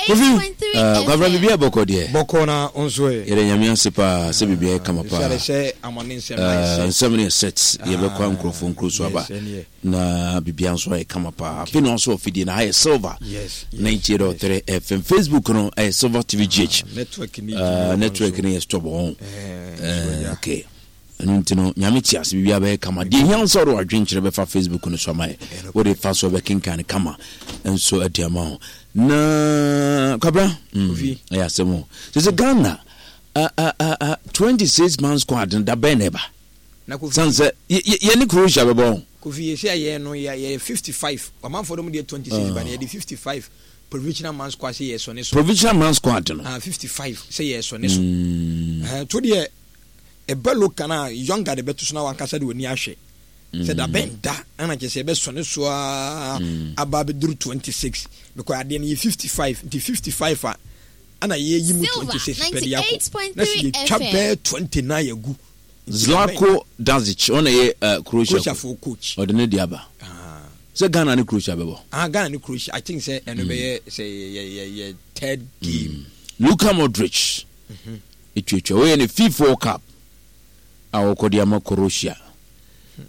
Kofi. Kwabena biribi ayɛ bɔkɔ deɛ. Bɔkɔ na wo nso ɛ. Yɛda Nyame ase paa sɛ biribi ayɛ kama paa. Sɛ amane nsɛm na ayɛ sɛ. Nsɛm no yɛ set yɛbɛkɔ nkurɔfoɔ nkuro so aba na biribi nso ayɛ kama paa. Afei na ɔso afidie na ha yɛ Silver 98.3 FM. Facebook no ɛyɛ Silver TV GH. Network no yɛ stop wɔn. Okay. Ɛno nti no, Nyame te ase, biribiara bɛyɛ kama. Deɛ ɛhia wo sɛ wode w'adwenkyerɛ bɛfa Facebook no so ama yɛ. Wode fa so bɛkenkan no kama nso adi ama wo. Na Kwabra, mm, ɛyɛ asɛm o. Sɛ sɛ Ghana, uh, uh, uh, uh, 26 man squad no da bɛn na ɛba? San sɛ yɛne Croatia bɛbɔ ho. Kofi yɛsi a yɛn no yɛ 55. Ɔmanfoɔ no mu deɛ 26 ba no yɛde 55 provisional man squad sɛ yɛsɔ ne so. Provisional man squad no. Ah, 55 sɛ yɛsɔ ne so. Mm. To deɛ Ɛba loka no a younger de bɛto so na wankasa de w'ani ahwɛ sɛ da bɛn da ɛna kyerɛ sɛ ɛbɛsɔ ne so ara aba abɛduru 26 because adeɛ no yɛ 55 nti 55 a ɛna yɛyi mu 26 pɛ de akɔ na sɛ yɛtwa bɛɛ 29 agu. Zlatko Dasic ɔna yɛ uh, Croatia Croatia fo coach ɔde ne de aba ah. sɛ Ghana ne Croatia bɛbɔ ah Ghana ne Croatia I think sɛ ɛno mm. bɛyɛ sɛ yɛ yɛ yɛ third game mm. Luka Modric mm -hmm. Etuatua. Wei yɛ ne FIFA World Cup a wɔkɔ de ama Croatia.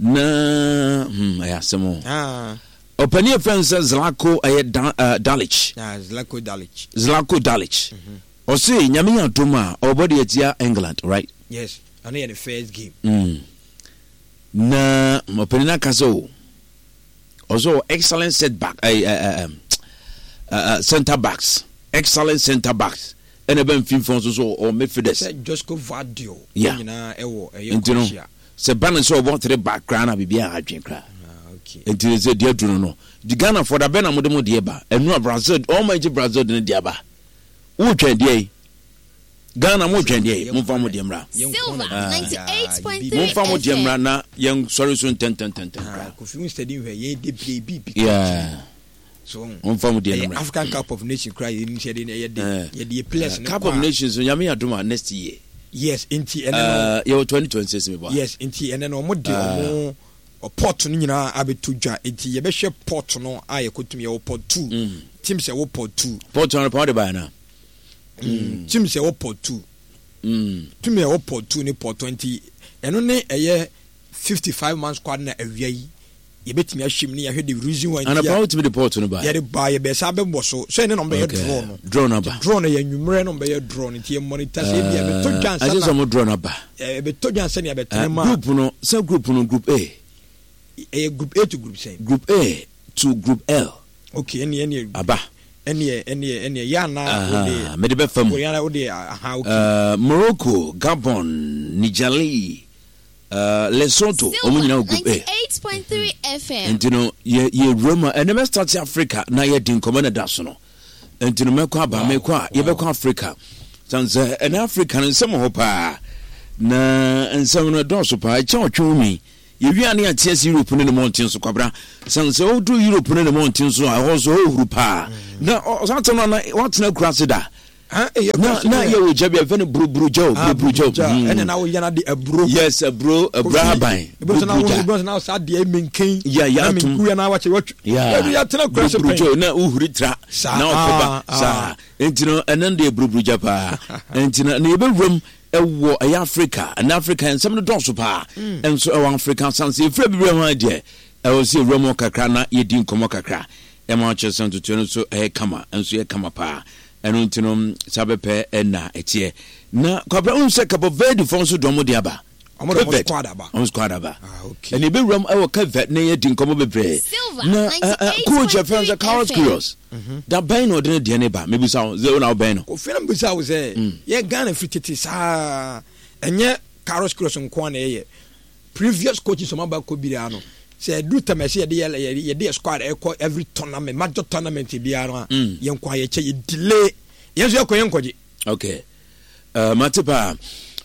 Na hmm, ɛyɛ asɛm o. Ah. Ɔpanin a fɛn sɛ Zlatko ɛyɛ da, uh, Dalic. Ah, Zlatko Dalic. Zlatko Dalic. Mm -hmm. Ɔse nyame yɛ adom a ɔbɔ de atia England, right? Yes, ɛno yɛ ne first game. Mm. Na ɔpanin no aka sɛ o ɔsɛ ɔwɔ excellent setback eh, eh, eh, eh, center backs excellent center backs ɛna ɛbɛ mfimfini nso so ɔwɔ midfielders. Sɛ Josko Gvardiol yeah. nyinaa ɛwɔ ɛyɛ nti no sɛ ba no sɛ ɔbɔ three back koraa na biribi a adwene koraa ah, nti sɛ deɛ aduru no no di Ghana fɔ da bɛ na mode mo deɛ ba ɛnu a Brazil ɔma nkyɛ Brazil de ne deɛ aba wotwɛn deɛ yi Ghana mo twɛn deɛ momfa mo deɛ mmra momfa mo deɛ mmra na yɛn sɔre so ntɛntɛntɛntɛm koraa. Kofi wo study nhwɛ yɛn de bere bi bi yeah so momfa mo deɛ mmra African Cup of Nations koraa yɛn nim sɛ yɛde yɛde yɛde yɛ players no Cup of Nations no nyame adom a next year yes nti ɛnɛ no yɛwɔ 2026 mi bɔ yes nti ɛnɛ no ɔmo de ɔmo port no nyinaa abɛto dwa nti yɛbɛhwɛ port no a yɛkɔtum yɛwɔ port 2 team sɛ wɔ port 2 port no pa wɔde baeɛ na Mm. Tim sɛ ɛwɔ port 2. Mm. Tim ɛwɔ port 2 ne port 20. Ɛno ne ɛyɛ 55 man squad na awia yi. Yɛbɛtumi ahyɛ mu ne yɛahwɛ the reason why. Anapa wotumi de port no ba. Yɛde ba yɛbɛ sa bɛbɔ so. So ɛne na ɔmbɛyɛ draw no. Draw no aba. Draw no yɛ nwummerɛ na ɔmbɛyɛ draw no nti yɛ monitor sɛ ebi ɛbɛtɔ dwa nsa na. Agye sɛ ɔmo draw no aba. Ɛbɛtɔ dwa nsa na yɛbɛtene ma. Group no sɛ group no group A. Ɛyɛ group A to group sɛn. Group A to group L. Okay ɛneɛ ɛneɛ. Aba. Ɛneɛ ɛneɛ ɛneɛ yɛ ana wode. Mede bɛfa mu. Yɛ ana wode aha okay. Morocco, Gabon, Nigerlie, Lesotho, wɔn nyinaa wɔ group A. Nti no yɛ yɛ wura mu a ɛnɛ mɛ start Africa na yɛ di nkɔmɔ na da so no. Nti no mɛkɔ aba mɛkɔ a yɛbɛkɔ Africa. San sɛ ɛnɛ Africa no nsɛm wɔ hɔ paa na nsɛm no ɛdɔɔso paa ɛkyɛn ɔtwe wo mi. Yɛwie a ne yɛate ase Europe ne ne mmɔnten so kwabra. Sane sɛ woduru Europe ne ne mmɔnten so a, ɛhɔ nso ɛhɔ huru paa. Na saa asɛm no na woatena akura ase da. Na na yɛ wɔ gya bi a yɛfrɛ no buruburu gya o, buruburu gya o. Ɛna na woyɛ no de aburo. Yes, aburo, aburo ahaban. Buruburu gya. Ebi na saa deɛ menken. Ya ya atum. Na na wakyɛ watwi. Ya. Yɛatena akura ase pɛn. Buruburu gya o, na wohuri tra. Na ɔkɔba saa. Nti no ɛno deɛ buruburu gya paa. Nti no na yɛbɛwuram Ɛwɔ ɛyɛ Africa ɛnɛ Africa nsɛm no dɔɔso paa nso ɛwɔ Africa asanse efiri abibire ho deɛ ɛwɔ sɛ ewura mu kakra na yɛdi nkɔmɔ kakra ɛma ɔkyerɛ sɛ ntotoɛ no nso ɛyɛ kama nso yɛ kama paa ɛno nti no saa bɛpɛ ɛna ɛteɛ na kwabra wohu sɛ Cabo Verde fɔ nso dɔm de aba Ɔmo de ɔmo squad aba. Ɔmo squad aba. Ah, okay. Ɛna ebewura mu ɛwɔ Cape Verde na yɛdi nkɔmɔ bebree. Na coach ɛfɛn sɛ Carlos Queiroz. Mhm. Da bɛn na ɔde ne deɛ ne ba mebisa wo sɛ wo na wobɛn no. Kofi na mebisa wo sɛ mm. yɛ Ghana firi tete saa ɛnyɛ Carlos Queiroz nko ara na ɛyɛ previous coaches ɔmo aba kɔ biara no sɛ ɛduru tam ɛsɛ yɛde yɛ yɛde yɛ squad ɛkɔ every tournament major tournament biara no a mm. yɛn kɔ ayɛkyɛ yɛ delay yɛn nso yɛkɔ yɛn nkɔgye. Okay. Uh, mate paa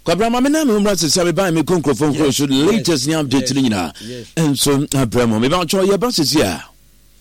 kwabra ma me na me ho mmra sisi a mebae mekɔ nkurɔfoɔ nkuro so latest ne update no nyinaa nso abrɛ mu mebakyɛ yɛba sisi a.